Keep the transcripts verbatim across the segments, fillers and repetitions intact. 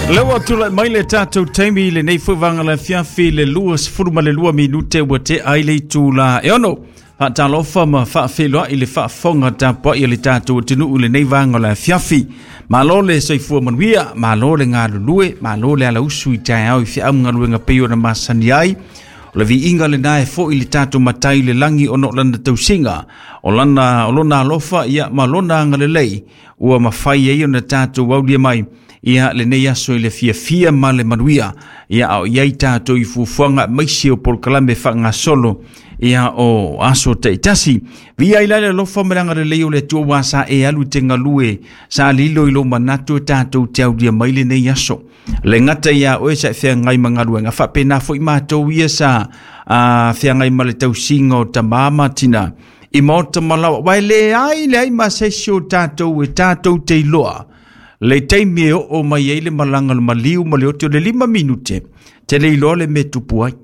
Leo tula mai le tatou taimi le nei foi vanga le fiafi le lua sefulu ma le lua minute ua te ai le itula e ono. Faatalofa ma faafeiloai i le faafofoga tapuai a le tatou atunuu i lenei vaega o le afiafi. Malo le soifua manuia, malo le galulue, malo le alausu i taeao i feau ma galuega pei ona masani ai. O le viiga lena e foi i le tatou matai i le lagi ona o lana tausiga, o lana, o lona alofa ia ma lona agalelei ua mafai ai ona tatou aulia mai ia lenei aso i le fiafia ma le manuia. Ia a o i ai tatou i fuafuaga aemaise o polokalame faagasolo ia o aso taitasi. Via i le alofa ma le agalelei o le Atua ua sa e alu i te galue, sa lilo i lou manatu e tatou te aulia mai lenei aso. Le gata ia oe sa e feagai ma galuega, faapena foi matou ia sa a, feagai ma le tausiga o tamā ma tina i maota ma laoa. Ua e leai leai ma se isi o tatou e tatou te iloa le taimi e oo mai ai le malaga o le maliu ma le oti o le lima minute, te le iloa le mea tupu ai.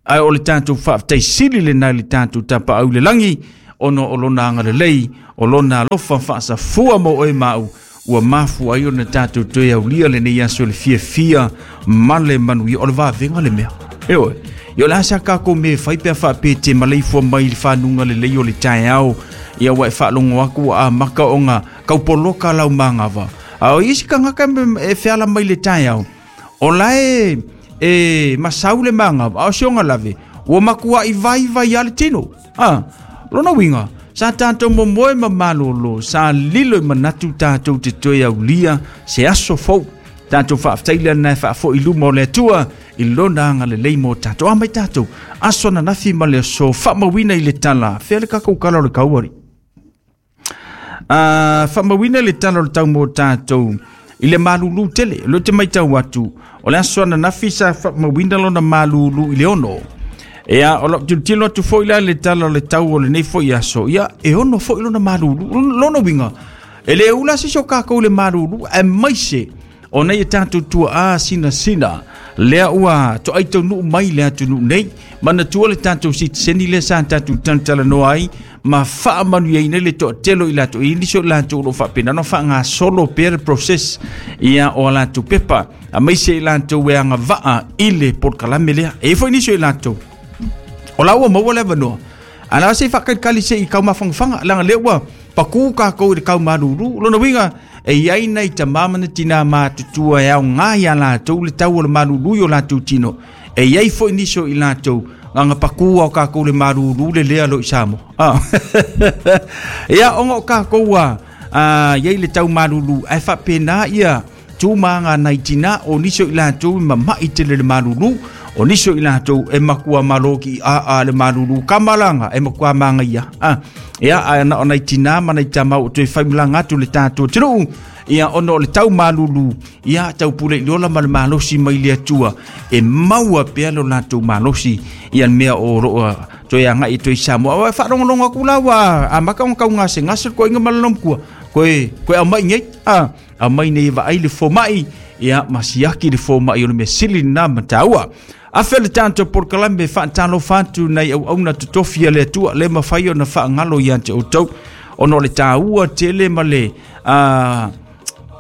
Ae o le tatou faafetai sili lena i le tatou tapaau i le lagi, ona o lona agalelei, o lona alofa faasafua mo oe ma au, ua mafua ai ona tatou toe aulia lenei aso i le fiafia ma le manuia. O le vavega le mea. E oe, ia o le a sa kākou mea e fai pe a faapea e te maleifua mai i le fanuga lelei o le taeao, ia ua e faalogo aku ua amaka ona kaupoloka lau magava. A o isi tagata e feala mai le taeao, o la e, e masau le magava, a o si ona lave, ua makuai vai vai a le tino. Ah, lona uiga, sa tatou momoe ma malolo, sa lilo i manatu tatou te toe aulia se aso fou. Tatou faafetai lena e faafoi i luma o le Atua i lona agalelei mo tatou. A mai tatou, aso ananafi ma le aso faamauina i le tala. Fea le kakou kala o le kauari. Uh, faamauina le tala o le tau mo tatou i le malulu tele. O lea ou te matau atu, o le aso ananafi sa faamauina lona malulu i le ono. Ia, o lau tilotilo atu foi la i le tala o le tau o lenei foi aso, ia, e ono foi lona malulu. Lona uiga, e le ula se isi o kākou i le malulu, aemaise o nei e tatou tuaa sinasina lea ua toai taunuu mai le atunuu nei. Manatua le tatou sitiseni lea sa tatou talatalanoa ai ma faamanuiaina le toatele i latou i nisi o latou o lo o faapena ona faagasolo pea le process ia o a latou pepa, aemaise i latou e agavaa i le polokalame lea. E i ai foi nisi o i latou o la ua maua le avanoa, a la se i faakalikali se i kaumafangafaga, leaga lea ua pakū kākou i le kaumalūlū. Lona uiga, e i ai nai tamā ma nai tinā matutua e aogā iā latou le tau o le malūlū i o latou tino. E i ai foi nisi o i latou aga pakū ao kākou le malūlū le lea lo i Samoa. Ah. Ia, ona o kākou a, a i ai le tau malūlū, ae faapena ia tū ma aga nai tinā o nisi o i latou e mama'i tele le malūlū, o nisi o i latou e makua malo ki a a le malūlū kamalanga e makua magaia. Ah. Ia, ae na o nai tinā ma nai tama o toe faimalaga atu le tatou atunuu, ia ona o le tau malūlū, ia tau pule i le ola ma le malosi mai le Atua e maua pea lo latou malosi ia le mea o loo toe agai e toe Samoa. Ae faalogologo aku la ua amaka ona kaugasegase le koaiga ma le lomkua koe koe aumai nei a aumai nei vaai le fomai ia ma siaki le fomai o le mea sili lena ma taua. Afe le tatou polokalame faatalofa atu nai auauna totofi a le Atua le mafai ona faagalo ia te outou ona o le taua tele ma le a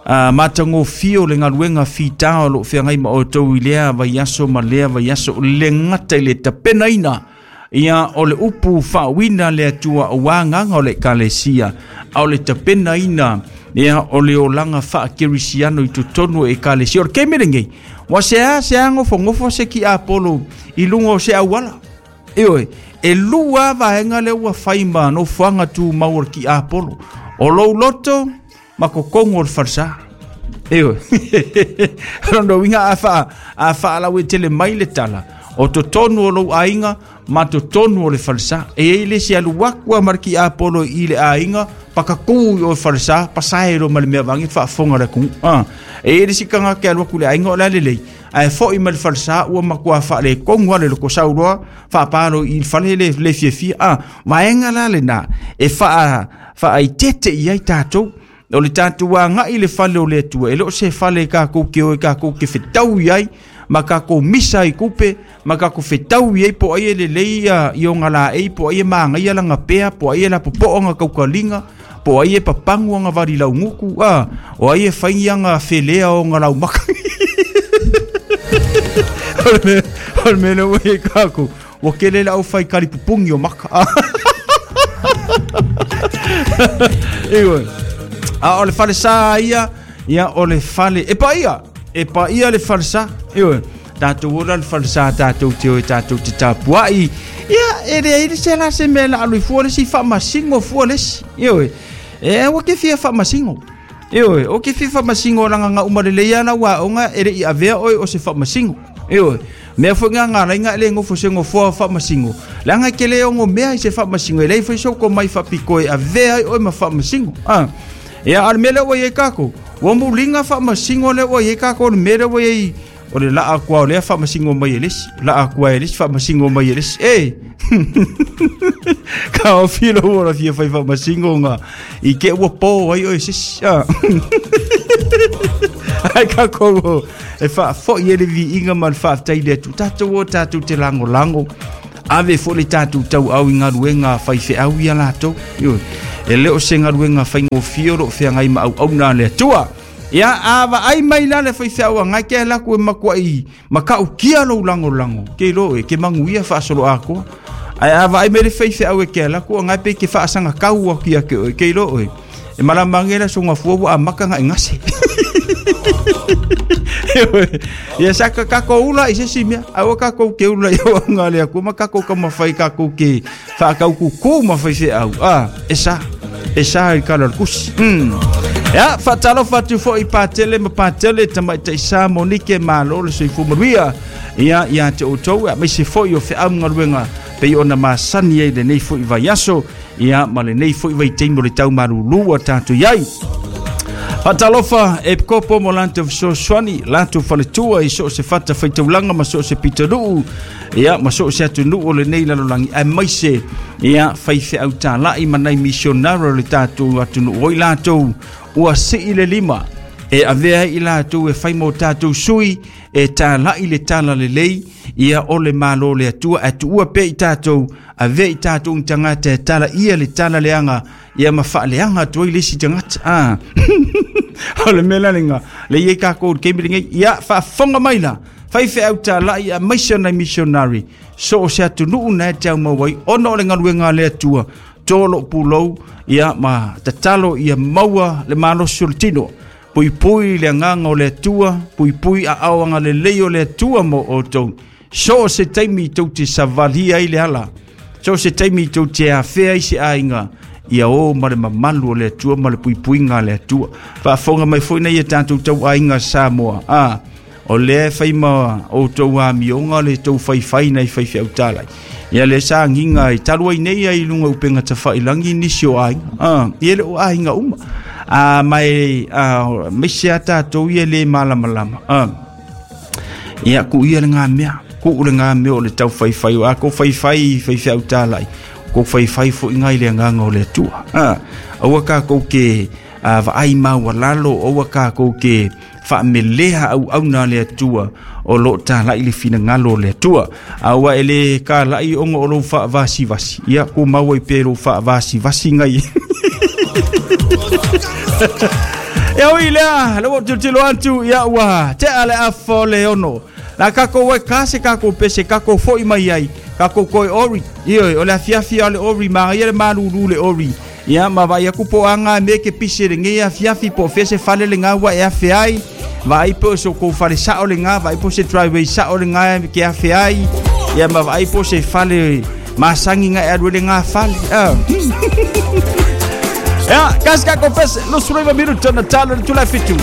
Uh, matagofie o le galuega fitā o loo feagai ma outou i lea vaiaso ma lea vaiaso, le gata i le tapenaina ia o le upu faauina le Atua ua agaga o le ekalesia, a o le tapenaina ia o le olaga faakerisiano i totonu o ekalesia. O le taimi lenei ua sea sea gofogofo se kiapolo i luga o se auala. Ioe, e lua vaega lea ua fai ma nofoaga tumau o le kiapolo, o lou loto ma kokogo o le falesā. Ioe, lona uiga a faa a faalauetele mai le tala o totonu o lou aiga ma totonu o le falesā. E i ai le isi alu aku a ma le kiapolo i le aiga pakakū i o falesā pasae lo ma le mea vagi faafofoga le atunuu. Ah. E i ai le isi tagata e alu atu i le aiga o le a lelei, ae foi mai le falesā ua matua faaletonu lava le loko sauloa faapalo i le fale le, le fiafia. Ah. Vaega la lena e faa faaitete i ai tatou o le tatou agai i le fale o le Atua. E le o se fale e kākou ke o e kākou ke fetau i ai ma kākou misa i kupe ma kākou fetau i ai po ai e lelei ia i ona laei, po ai e magaia lana pea, po ai e lapopo'o kaukaliga, po ai e papagu aga vali lauguku a o ai e fai aga felea o ona laumaka. O le mea lea ua i ai kākou, ua tele le aufai kalipupugi o maka. Ioe. A o le falesā ia, ia o le fale e paia, e paia le falesā. Ioe. Tātou ola le falesā tātou te oe tātou te tapuai. Ia, e leai le se la se mea la alu i fua le si faamasingo fua le si. Ioe. E ua ke fia faamasingo. Ioe, o ke fia faamasingo langa nga uma lelei ala ua aoga e le'i avea oe o se faamasingo. Ioe. Mea foi ngā ngā lainga e le ngofo se ngofoa faamasingo. Leaga e ke le ogo mea i se faamasingo e leai foi sou komai faapiko e avea ai oe ma faamasingo. Ah. Ia, a o le mea lea ua i ai kākou, ua muliga faamasingo lea ua i ai kākou, o le mea lea ua i ai o le laa atu o lea faamasingo mai e le isi, laa atu ai e le isi faamasingo mai e le isi. E! Ka o filo ua la fia fai faamasingo nga i ke ua pō ai oe se isi. Ah. Ai kākou e faafo'i e le viiga ma le faafetai le atu. Tātou o tātou te lagolago. Ave foi le tātou tauau i galuega faifeau ia latou. Ioe. E le o se galuega faigofie o loo feagai ma auauna a le Atua. Ia, a vaai mai la le faifeau agai ke alu atu e matuai matautia lou lagolago. Ke iloa oe, ke manuia faasolo atoa. Ae a vaai mai le faifeau e ke alu atu agai pe ke faasagatau atu ia te oe. Ke iloa oe, e malama age le aso gafua ua amata ona e gase. Ia sa ka kākou ula i se isi mea, ae ua kākou ke ula i auaunaga a le Atua ma kākou taumafai kākou ke faakaukuku ma faifeau. A, e sa, e sa i le tala o le tusi. Mm. Ia, faatalofa atu foi i Patele ma Patele, tamaitai sa Monike, malo le soifua manuia. Ia, ia te outou, aemaise foi o feau ma galuega pei ona masani ai lenei foi vaiaso, ia ma lenei foi vaitaimi o le tau malūlū a tātou i ai. Faatalofa e kopo mo latou fesoasoani, latou faletua i so o se fata faitaulaga ma so o se pitonuu, ia ma so o se atunuu o lenei lalolagi, aemaise ia faifeau tala'i ma nai misionari o le tatou atunuu oi latou ua sii le lima e avea ai i latou e fai mo tatou sui e tala'i le tala lelei ia o le Malo o le Atua, ae tuua pea i tatou, avea i tatou ni tagata e talaia le tala leaga ia ma faaleaga atu ai le isi tagata. Ah. O le mea la lena le i ai kākou i le taimi lenei. Ia faafofoga mai la faifeau tala'i aemaise o nai missionary so o se atunuu na e te au mau ai ona o le galuega a le Atua to lou pulou ia ma tatalo ia maua le malosi o le tino. Puipui le agaga o le Atua, puipui aao agalelei o le Atua mo outou. So o se taimi tou te savalia ai le ala, so o se taimi tou te afea ai se aiga, ia o ma le mamalu o le Atua ma le puipuiga a le Atua. Faafofoga mai foi nei e tatou tau aiga Samoa. Ah, o lea e fai ma outou amioga le tou faifai nai faifeau talai. Ia le sa agiga i talu ai nei ai i luga o upega tafailagi nisi o aiga. Ah, ia le o aiga uma. A mai a maise a tātou ia le malamalama. Ah. Ia ku ia le ngā mea, ku le ngā mea o le tau faifai o a ko faifai faifeau talai. Ko faifai foi ngai le agaga o le Atua. Ah, aua kākou ke a vaai maualalo, aua kākou ke faamelea auauna a le Atua o loo tala'i le finagalo o le Atua. Aua e le kala'i ona o lou faavasivasi. Ia ku maua i pe lou faavasivasi ngai. Ia ui lea, le ua tilotilo atu, ia ua tea le afa o le ono. La kākou ai ka se kākou pese, kākou foi mai ai, kākou koe ori. Ioe, o le afiafi a le ori, magaia le malūlū le ori. Ia, ma vaai aku po anga me ke pise lenei afiafi po o fea se fale lena ua e afe ai. Vaai po o se kou fale sao lena, vaai po se driveway sao lena ke afe ai. Ia ma vaai po se fale masagi nga e alu ai lena fale. Ah. Ia, kasi kākou pese, luasulu iva minuta na talo le itula e fitu.